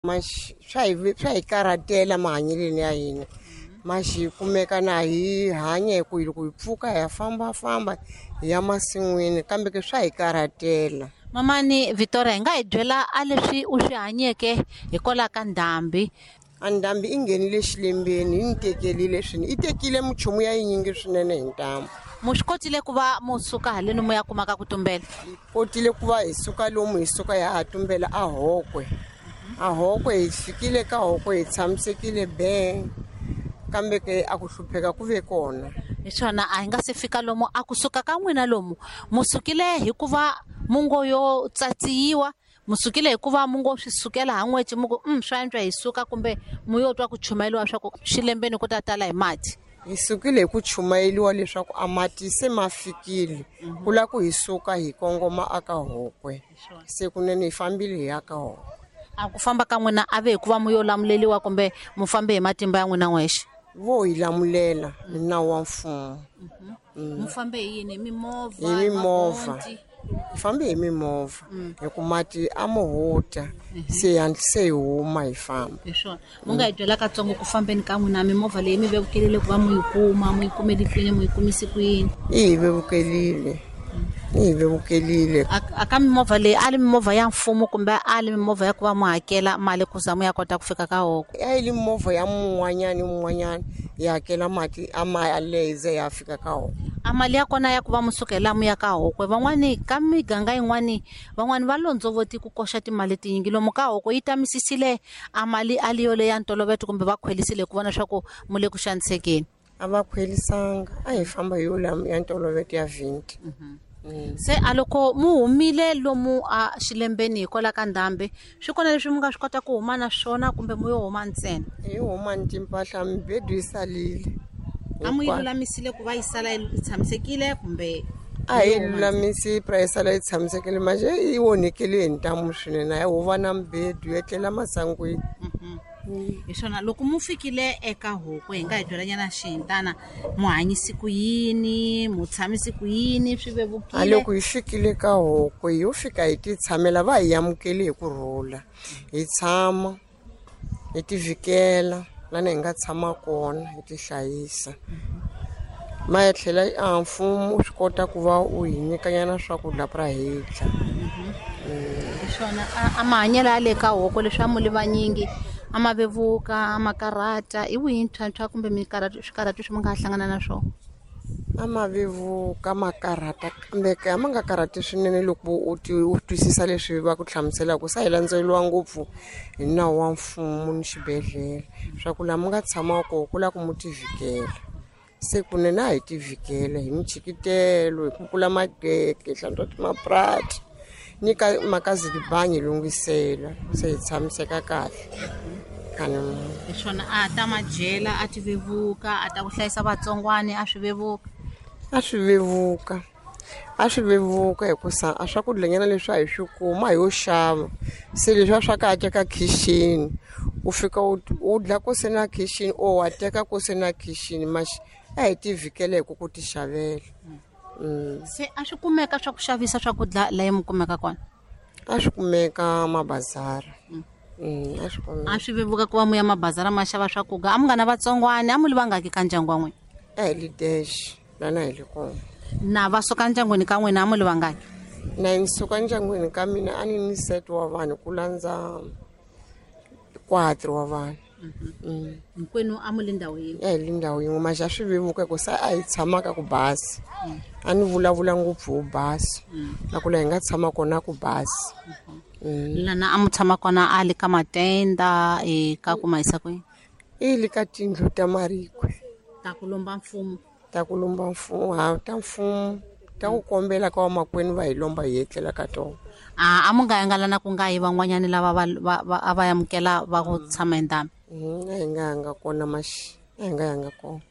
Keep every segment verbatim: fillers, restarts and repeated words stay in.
Maxi swa hi swa hi karhatela mahanyelweni ya hina. Maxi hi kumeka na hi hanya hi ku loko hi pfuka hi ya fambafamba hi ya masin'wini kambe ke swa hi karhatela. Mamani Victoria, hi nga hi byela a leswi u swi hanyeke hikwalaho ka ndhambi? A ndhambi i nghenile xilembeni, yi ni tekelile swinene, i tekile minchumu ya yinyingi swinene hi ntamu. Mu swi kotile ku va mu suka haleni mu ya kumaka ku tumbela? Hi kotile ku va hi suka lomu hi suka hi ya tumbela a Hokwe. A Hokwe hi fikile ka Hokwe hi tshamisekile be, kambe ke a ku hlupheka ku ve kona. Hi swona, a hi nga se fika lomu a kusuka ka n'wina lomu mu sukile hikuva mungo yo tsatsiyiwa, mu sukile hikuva mungo swi sukela ha n'weci mu ku mm, swa antswa hi suka, kumbe mu yo twa ku chumayeriwa swa ku xilembeni ku ta tala hi mati? Hi sukile hi ku chumayeriwa leswaku a mati se ma fikile, ku lava ku hi suka hi kongoma aka Hokwe. Se kunene hi fambile hi ya ka Hokwe. A ku famba ka n'wina a ve hikuva mu yo lamuleliwa kumbe mu fambe hi matimba ya n'wina n'wexe? Vo hi lamulela hi nawu wa mfumo. Mu fambe hi yini? Hi mimovha? Hi mimovha. Hi fambe hi mimovha hi ku mati a mo huta, se hi hatlise hi huma hi famba. Hi swona, mu nga hi byela katsongo ku fambeni ka n'wina, mimovha leyi mi vevukelile ku va mu yi kuma, mu yi kumele kwini, mu yi kumise kwini? I hi vevukelile, i hi vevukelile. A ka mimovha leyi a li mimovha ya mfumo kumbe a li mimovha ya ku va mu hakela mali ku za mu ya kota ku fika ka Hokwe? A yi li movha ya mun'wanyani mun'wanyani, hi hakela mati a ma yaleyo ya fika ka Hokwe. A mali ya kona ya ku va mu sukela mu ya ka Hokwe, van'wani ka miganga yin'wani van'wani va londzovoti ku koxa timali tinyingi lomu ka Hokwe, yi tamisisile a mali a li yoleyo ya ntoloveto kumbe va khwelisile ku vona swa ku mu le ku xanisekeni? A va khwelisanga, a hi famba hi yo ya ntoloveto ya vhinti. Se a loko mu humile lomu a xilembeni hikwalaho ka ndhambi, swi kona leswi mu nga swi kota ku huma na swona kumbe mu yo huma ntsena? Hi huma ni timpahla, mibedo yi salile. A mu yi lulamisile ku va yi sala yi tshamisekile kumbe? A hi lulamisi pra yi sala yi tshamisekile, manje yi onhekile hi ntamu swinene, a ho va na mibedo yo etlela masangwini. Hi swona, loko mu fikile eka Hokwe, hi nga hi byelanyana xihintana, mu hanyisi ku yini, mu tshamisi ku yini, swi vevukile? A loko hi fikile ka Hokwe hi yo fika hi ti tshamela, va hi amukele hi ku rhula, hi tshama hi ti vhikela lana hi nga tshama kona, hi ti hlayisa. Ma ya tlhela a mfumo wu swi kota ku va u hi nyikanyana swakudya pra hi dya. Hi swona, a mahanyelo ya le ka Hokwe leswi a mu li vanyingi a ma vevuka, a ma karhata, i wihi ntlhontlho kumbe swikarhato leswi mi nga hlangana na swona? A ma vevuka, ma karhata, kambe ke a ma nga karhati swinene loko u u twisisa leswi va ku hlamuselaka. Se a hi landzeleriwa ngopfu hi nawu wa mfumo ni xibedhlele swa ku laha mi nga tshama kona ku lava ku mu ti vhikela. Se kunene a hi ti vhikela hi michikitelo, hi kukula magege, hi hlantswa timaprati, ni ka makazilibangi hi lunghisela, se hi tshamiseka kahle. Hi swona, a ta madyela a ti vevuka, a ta ku hlayisa vatsongwani a swi vevuka? A swi vevuka, a swi vevuka hikusa a swakudya leswi a hi swi kuma hi yo xava, se leswiya swa ka teka khixini u fika u dla ku se na khixini or wa teka ku se na khixini, maxi a hi ti vhikela hi ku ku ti xavela. Se a swi kumeka swa ku xavisa swakudya laha mi kumeka kona? A swi kumeka mabazara. A swi kumeka. A swi vevuka ku va mu ya mabazara ma xava swakudya? A mu nga na vatsongwani, a mu li vangaki ka ndyangu wa n'wina? A hi li dash lana hi li kona. Na va suka ndyangwini ka n'wina a mu li vangaki? Na ni suka ndyangwini ka mina a ni ni set wa vanhu ku landza quatro wa vanhu. Hinkwenu a mu li ndhawu yin'we? A hi li ndhawu yin'we, maxi a swi vevuka hi ku se a hi tshama ka ku basa. A ni vulavula ngopfu hi basa, na ku laha hi nga tshama kona ku basa. Lana a mu tshama kona a li ka matenda, ka ku ma yisa kwini? I li ka tindlu ta marikwe. Ta ku lomba mfumo? Ta ku lomba mfumo, ha ta mfumo, ta ku kombela ka vamakwenu va hi lomba hi etlela ka tona. A a mu nga yanga lana ku nga yi van'wanyani lava va va a va amukela va ku tshama hi ndhambi? A hi nga yanga kona maxi, a hi nga yanga kona.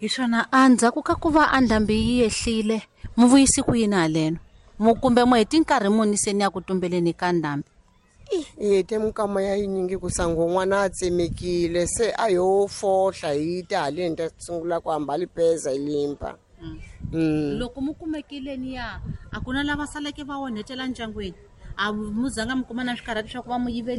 Hi swona, a ndzhaku ka ku va a ndhambi yi yehlile, mu vuyisi ku yini haleno? Mu kumbe mu heti nkarhi muni se ni ya ku tumbeleni ka ndhambi? Hi hete minkama ya yinyingi ku sango n'wana a tsemekile, se a yo fohla hi ta haleni ta sungula ku hamba lipeza hi limpa. Loko mu kumekile niya, a ku na lava saleke va onhetela ndyangwini? A mu zanga mi kuma na swikarhati swa ku va mu yiveli?